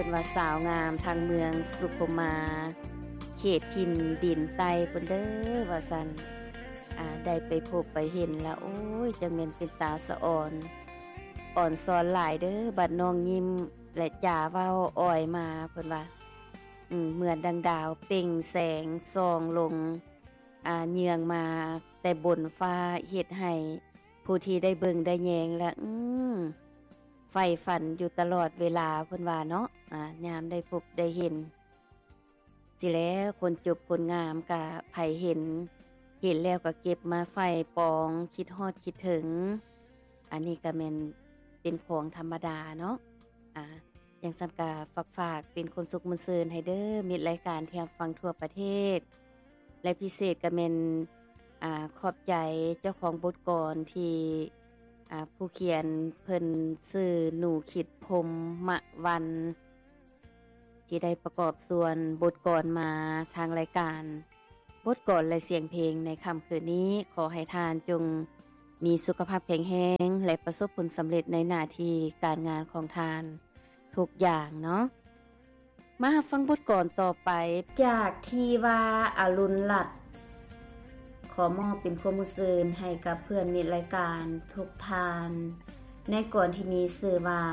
พิ่นວ່າສາວງາມທາງເມືອງສຸຂຸມມາ ເຂດຖິ່ນດິນໃຕ້ພຸ້ນເດີວ່າຊັ້ນ. ອາ ໄດ້ໄປພົບໄປເຫັນລະ ໂອ້ຍ ຈັ່ງແມ່ນເປັນຕາສະອອນ ອອນຊອນຫຼາຍເດີ. ບັດນ້ອງຍິ້ມ ແລະ ຈາເວົ້າອອຍມາ ເພິ່ນວ່າ ອືມ ເໝືອນດັ່ງດາວເປັ່ງແສງສ່ອງລົງ ອາ ເຍືອງມາແຕ່ບົນຟ້າ ເຮັດໃຫ້ຜູ້ທີ່ໄດ້ເບິ່ງໄດ້ແຍງລະ ອືມ ໃຝ່ຝັນຢູ່ຕະຫຼອດເວລາ ເພິ່ນວ່າເນາະ. ອາ ຍາມໄດ້ພົບໄດ້ເຫັນ ຊິແລ້ວ ຄົນຈົບຄົນງາມກະໃຜເຫັນ ເຫັນແລ້ວກະເກັບມາໃຝ່ປອງ ຄິດຮອດຄິດເຖິງ. ອັນນີ້ກະແມ່ນເປັນຂອງທຳມະດາເນາະ. ອາ ຈັ່ງຊັ້ນກະຝາກ ຝາກເປັນຄວາມສຸກມ່ວນຊື່ນໃຫ້ເດີ ມິດລາຍການທີ່ຮັບຟັງທົ່ວປະເທດ ແລະ ພິເສດກະແມ່ນ ອາ ຂອບໃຈເຈົ້າຂອງບົດກອນທີ່ ອາ ຜູ້ຂຽນເພິ່ນຊື່ ໜູ ຄິດ ພົມມະວັນ ທີ່ໄດ້ປະກອບສ່ວນບົດກອນມາທາງລາຍການ ບົດກອນ ແລະ ສຽງເພງໃນຄ່ຳຄືນນີ້. ຂໍໃຫ້ທ່ານຈົ່ງມີສຸຂະພາບແຂງແຮງ ແລະ ປະສົບຜົນສຳເລັດໃນໜ້າທີ່ການງານຂອງທ່ານທຸກຢ່າງເນາະ. ມາຮັບຟັງບົດກອນຕໍ່ໄປ ຈາກທີ່ວ່າອາລຸນລັດ ຂໍມອບເປັນຄວາມມ່ວນຊື່ນໃຫ້ກັບເພື່ອນມິດລາຍການທຸກທ່ານ ໃນກອນທີ່ມີຊື່ວ່າ